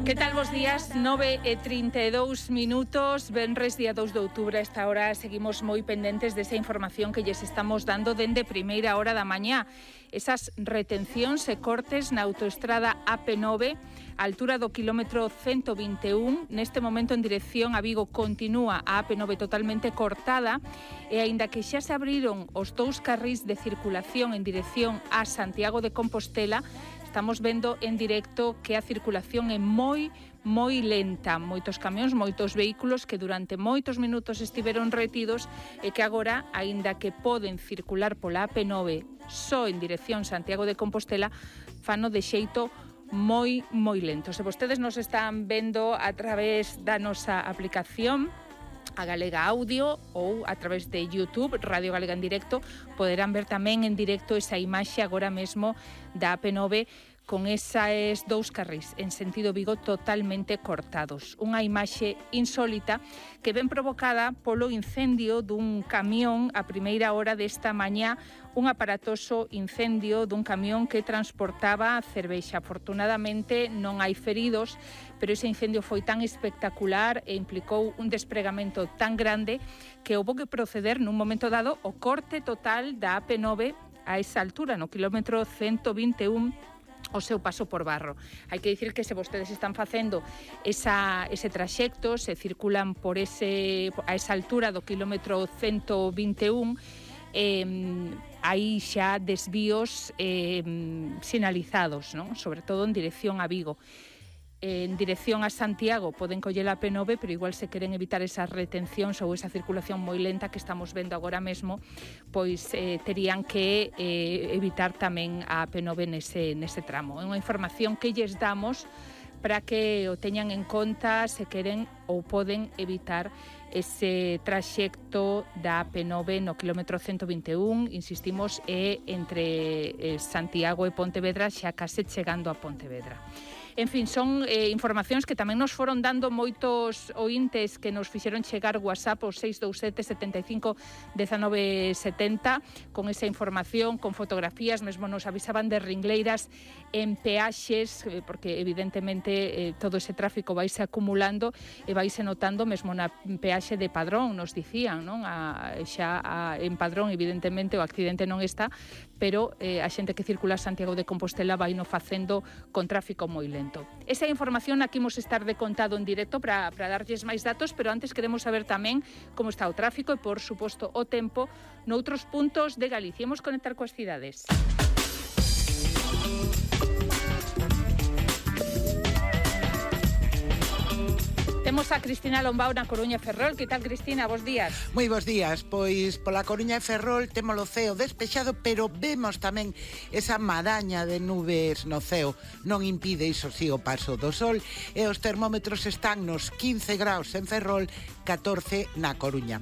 Que tal vos días? 9:32 minutos, venres día 2 de outubro. A esta hora seguimos moi pendentes desa información que lles estamos dando dende primeira hora da mañá. Esas retencións e cortes na autoestrada AP9, a altura do quilómetro 121. Neste momento en dirección a Vigo continúa a AP9 totalmente cortada e aínda que xa se abriron os dous carrís de circulación en dirección a Santiago de Compostela, estamos vendo en directo que a circulación é moi lenta. Moitos camións, moitos vehículos que durante moitos minutos estiveron retidos e que agora, aínda que poden circular pola AP9 só en dirección Santiago de Compostela, fano de xeito moi lento. Se vostedes nos están vendo a través da nosa aplicación a Galega Audio ou a través de YouTube, Radio Galega en Directo, poderán ver tamén en directo esa imaxe agora mesmo da AP9 con eses dous carrís en sentido Vigo totalmente cortados. Unha imaxe insólita que ven provocada polo incendio dun camión a primeira hora desta mañá, un aparatoso incendio dun camión que transportaba cervexa. Afortunadamente non hai feridos, pero ese incendio foi tan espectacular e implicou un despregamento tan grande que houbo que proceder nun momento dado o corte total da AP9 a esa altura, no quilómetro 121, o seu paso por Barro. Hai que dicir que se vostedes están facendo ese traxecto, se circulan por a esa altura do quilómetro 121, hai xa desvíos sinalizados, non? Sobre todo en dirección a Vigo. En dirección a Santiago poden coller a AP9, pero igual se queren evitar esas retencións ou esa circulación moi lenta que estamos vendo agora mesmo, pois terían que evitar tamén a AP9 nese tramo. É unha información que lles damos para que o teñan en conta se queren ou poden evitar ese traxecto da AP9 no quilómetro 121, insistimos, é entre Santiago e Pontevedra, xa case chegando a Pontevedra. En fin, son informacións que tamén nos foron dando moitos ointes que nos fixeron chegar WhatsApp o 627 75 19 70 con esa información, con fotografías, mesmo nos avisaban de ringleiras en peaxes, porque evidentemente todo ese tráfico vaise acumulando e vaise notando mesmo na peaxe de Padrón, nos dicían, non? En Padrón evidentemente o accidente non está, pero a xente que circula a Santiago de Compostela vai no facendo con tráfico moi lento. Esa información aquí imos estar de contado en directo para darlles máis datos, pero antes queremos saber tamén como está o tráfico e, por suposto, o tempo noutros puntos de Galicia. Imos conectar coas cidades. Temos a Cristina Lombao na Coruña e Ferrol. Que tal, Cristina? Bos días. Moi bos días. Pois pola Coruña e Ferrol temos o ceo despexado, pero vemos tamén esa maraña de nubes no ceo. Non impide, iso sí, o paso do sol, e os termómetros están nos 15 graus en Ferrol, 14 na Coruña.